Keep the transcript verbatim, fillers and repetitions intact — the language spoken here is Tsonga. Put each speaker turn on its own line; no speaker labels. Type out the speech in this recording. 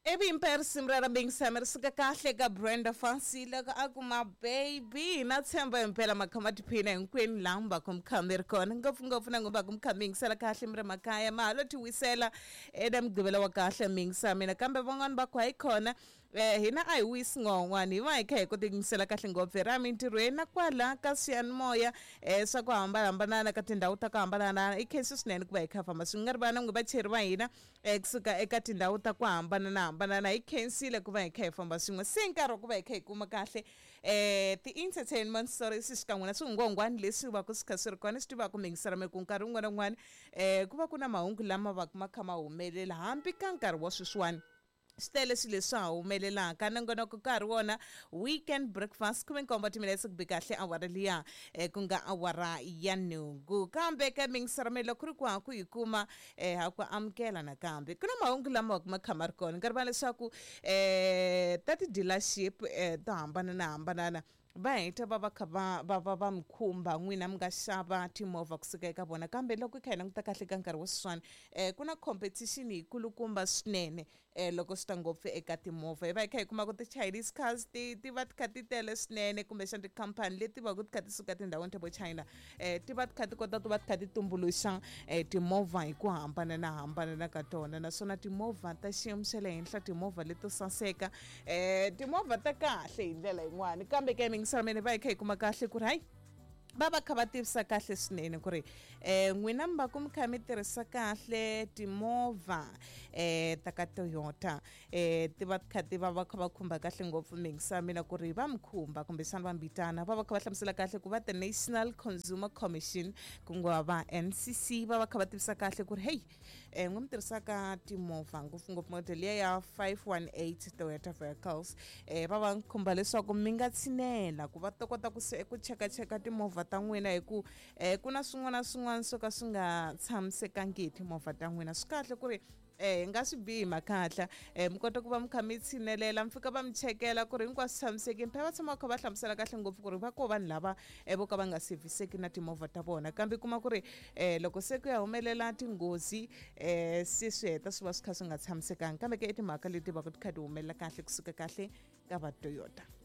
Ivi impela risimu ra Bing ri suka kahle ka Brenda Fassie loko a ku ma baby na tshemba impela makha ma tiphina hinkwenu laha mi va ku mi kha mi ri kona ngopfungopfu na n'wi va ku mi kha mi yingisela kahle mi ri makaya ma ha lo ti wisela eka mugqivela wa kahle mi yingisa mina kambe van'wani va ku hayi khona eh hina a hi wisi ngon'wani hi va hi kha hi kota ku yingisela kahle ngopfu hi ra mintirhweni na kwala ka swiyanimoya eh swa ku hambanahambana ka tindhawu ta ku hambanahambana i khensi swinene ku va hi kha famba swi nga ri vana n'wi vacheri va hina eh kusuka eka tindhawu ta ku hambanahambana hi khensile ku va hi kha hi famba swin'we se nkarhi wa ku va hi kha hi kuma kahle eh ti-entertainment stories xikan'we na swingongwani leswi va ku swi kha swi ri kona swi tivaka mi yingisela mi ku nkarhi wun'wana na wun'wana eh ku va ku na mahungu lama va ku ma kha ma humelela hambi ka nkarhi wa sweswiwani swi tele swilo leswi ha humelelaka nongonoko ka ha ri wona weekend breakfast khume nkombo timinetse ku bi kahle awara liya eh, ku nga awara ya nhungu kambe ka mingiselo loko ku ri ku ha ku yi kuma eh, ha ku amukela nakambe ku na mahungu lama va ku ma kha ma ri kona nkarhi va leswaku eh, ta ti-dealership eh, to hambananahambanana va heta va va kha va va va va mi khumba n'wina mi nga xava timovha kusuka eka vona kambe loko hi kha hi languta kahle ka nkarhi wa sweswiwani um ku na competition yikulukumba swinene um loko swi ta ngopfu eka timovha hi va hi kha hi kuma ku ti-chinese cars ti ti va ti kha ti tele swinene kumbexana tikhampani leti va ku ti kha ti suka tindhawini ta vo China um ti va ti kha ti kota ku va ti kha ti tumbuluxa um timovha hi ku hambananahambanana ka tona naswona timovha ta xiyimo xa le henhla timovha leto saseka um timovha ta kahle hi ndlela yin'wani kambe ke mingiselo va hi kha hi kuma kahle ku ri hayi va va kha va tivisa kahle swinene ku ri um n'wina mi va ku mi kha mi tirhisa kahle timovha um ta ka Toyota um ti va ti kha ti va va kha va khumba kahle ngopfu mingisa mina ku ri va mi khumba kumbexana va mbitana va va kha va hlamusela kahle ku va the National Consumer Commission ku nga va N C C va va kha va tivisa kahle ku ri hey um n'wi mi tirhisaka timovha ngopfungopfu model liya ya five one eight Toyota vehicles um va va khumba leswaku mi nga tshinela ku va ta kota ku se ku chekacheka timovha ta n'wina hi ku eh ku na swin'wana na swin'wana swo ka swi nga tshamisekangi hi timovha ta n'wina swi kahle ku ri eh hi nga swi bihi makatla eh mi kota ku va mi kha mi tshinelela mi fika va mi chekela ku ri hinkwaswo tshamisekile phela va tshama va kha va hlamusela kahle ngopfu ku ri va ko vanhu lava eh vo ka va nga seviseki na timovha ta vona kambe kuma ku ri eh loko se ku ya humelela tinghozi eh se swi heta swi va swi kha swi nga tshamisekanga kambe ke i timhaka leti va ku ti kha ti humelela kahle kusuka kahle ka va Toyota.